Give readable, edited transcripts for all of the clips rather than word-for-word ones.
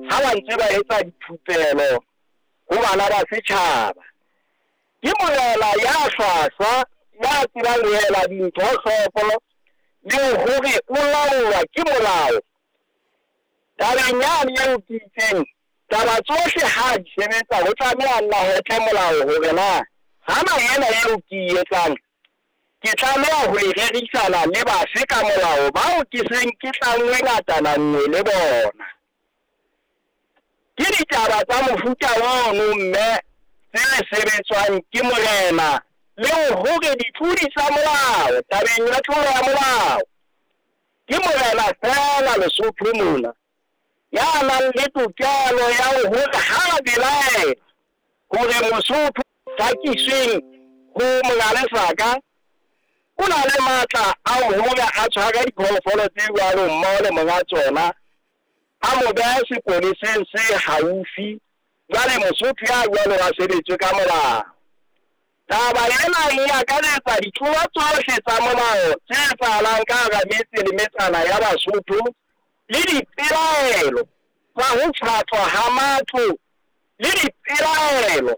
Ha ba ntse ba etsa dithupelo ho bana ba setjhaba. Ke morena ya hlwahlwa, ya tsebang ho ela dintho hloko le hore o laolwa ke molao. Tabeng yane eo ke itseng, taba tsohle ha di sebetsa ho tlameha nna ho tle molao hore na hana ena eo ke e etsang ke tlameha ho e rerisana le bafe ka molao bao ke seng ke tlanngwe ngatana nngwe le bona. Ke ditaba tsa mofuta ono mme tse sebetswang ke morena le hore ditlodi tsa molao tabeng ya tlolo ya molao ke morena feela Lesotho mona ya nang le tokelo ya hore ha a belaela hore Mosotho hlakisweng ho monga lesaka o na le matla a hore a tshware diphoofolo tse jwalo mmoho le monga tsona, a mo behe sepoleseng se haufi. Jwale Mosotho ya jwalo a sebetswe ka molao. Taba ena e akaretsa ditlolo tsohle tsa molao tse etsahalang ka hara metse le metsana ya Basotho le dipelaelo tsa ho pshatlwa ha matlo le dipelaelo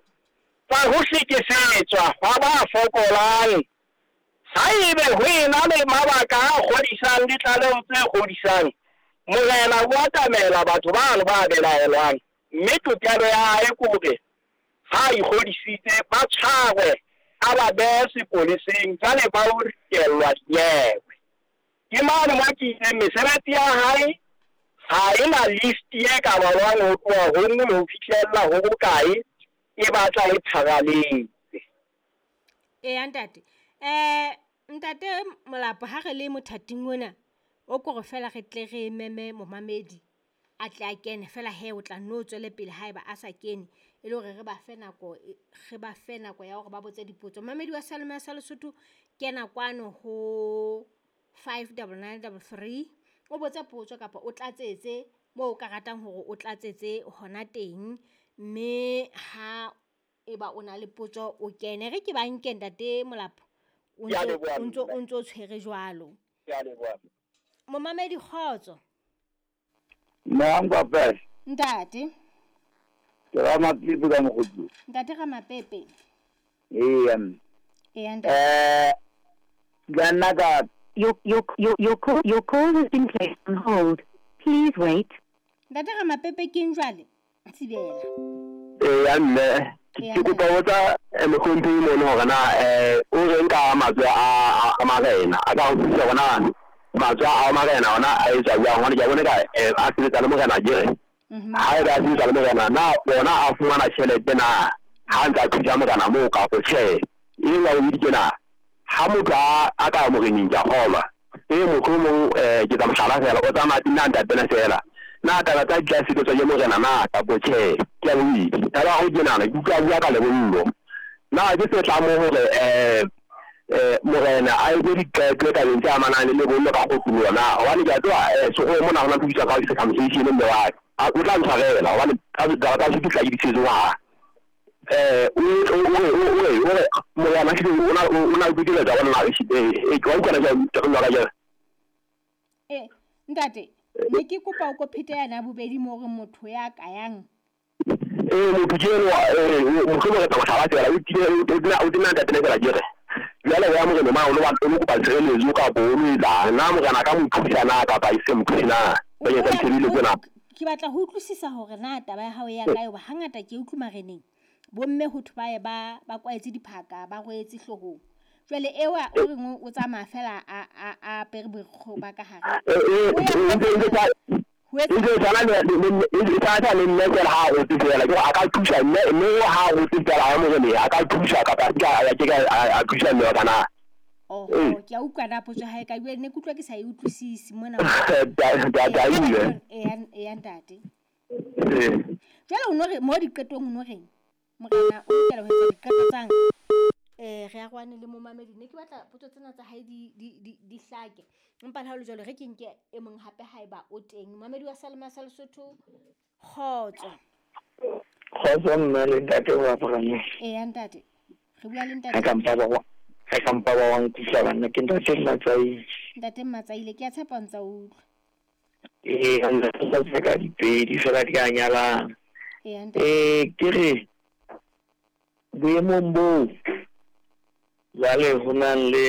tsa ho hlekefetswa hwa ba fokolang. Haebe ho ena le mabaka a kgodisang le tlaleho tse kgodisang, morena o atamela batho bano ba belaelwang, mme tokelo ya hae ke hore ha a ikgodisitse ba tshwarwe, a ba behe sepoleseng, jwale ba o ritellwa dinyewe. Ke mane mo ke itseng mesebetsi ya hae ha e na list e ka balwang ho tloha ho nngwe ho fihlella ho bokae, e batla e pharaletse. Eya ntate. Ntate Molapo, ha re le mothating ona o kore feela re tle re meme momamedi a tle a kene feela hee o tla nno tswele pele haeba a sa kene, e le hore re ba fe nako, re ba fe nako ya hore ba botse dipotso. Momamedi wa seyalemoya sa Lesotho kena kwano ho 59933 o botse potso kapa o tlatsetse moo o ka ratang hore o tlatsetse hona teng, mme ha eba o na le potso o kene. Re ke ba nke ntate Molapo, o Ke a leboha ntso mme. o ntso tshwere jwalo. Ke a leboha. Momamedi kgotso. Nna Nkwapele. Ntate. Ke Ramapepe ka Mokgotlong. Ntate Ramapepe. Eya mme. Eya ntate. Ka nna ka Your call has been placed on hold. Please wait. Ntate Ramapepe ke eng jwale? Thibela. Eya mme, Eya ke kopa ho botsa mohlomphehi mono hore na o reng ka matswe a marena, a ka utlwisisa hore na matswe a marena ona a etswa jwang, hobane ke a bona ka a sebetsa le morena akere. Ha ebe a sebetsa le morena, na ona a fumana tjhelete na ha ntse a thusa morena moo kapo tjhe? E leng ya bobedi ke na ha motho a ka ya moreneng, ke a kgolwa mohlomong ke tsa mohlala feela, o tsamaya nna ntatena feela, na taba tsa di tla sebetswa ke morena na kapo tjhe? Ke ya bobedi. Taba ya ho kenana, ke utlwa a bua ka lebollo, na ke se tlamo hore morena a etse diqeto tabeng tse amanang le lebollo ka kgotluwa na? Hobane ke a tseba sekgoweng mona ho na le ho bitswa ka circumcision, mme wa ka o tla ntshwarela hobane taba tsa Sotho tla ke di tshetse ngwaga. O re morena hlile o na le tokelo tsa bona na? Wa utlwa na ke ka jwang? Ntate, ne ke kopa o ko phete yana bobedi mo hore motho ya ka yang. Motho ke enwa, mohlomong re tla mohlala feela, o tile o tena ntatena feela ke re jwale o ya morena ma o lo o lo kopa tshireletso kapo o lo etsang, na morena a ka mo thusa na kapa e se mo thuse na bakeng sa ditshebeletso tsena? Ke batla ho utlwisisa hore na taba ya hao ya kae, hoba hangata ke utlwe mareneng bomme ho thwe ba ye ba ba kwaetse diphaka, ba rwetse hloohong. Jwale ewa o reng o tsamaya fela a apere borikgwe ba ka hare. O ya ho etsa E ntse e tshwana le e tshwana le mme feela ha a rotse feela, ke hore a ka thusa mme mme ha a rotse feela ha moreneng a ka thusa kapa a ke a ke a thusa mme wa ka na? Oho, ke a utlwa na potso ya hae ka jwale ne ke utlwa ke sa e utlwisisi mona. Eya ntate. Jwale o no re mo diqetong o no reng? Morena o lokela ho etsa diqeto tsang. Re arohane le momamedi, ne ke batla potso tsena tsa hae di hlake. Empa le ha ho le jwalo re ke nke e mong hape haeba o teng. Momamedi wa Seyalemoya sa Lesotho, kgotso. Kgotso mme le ntate wa Abraham. Eya ntate. Re bua le ntate. Ha ka mpa ba ha ka mpa ba wa nkutlwa banna, ke ntate Mmatsaile. Ntate Mmatsaile, ke a tshepa o ntsa utlwa. Ee, ntate ka dipedi fela di a nyalana. Eya ntate. Ke re boemong boo jwale ho nang le.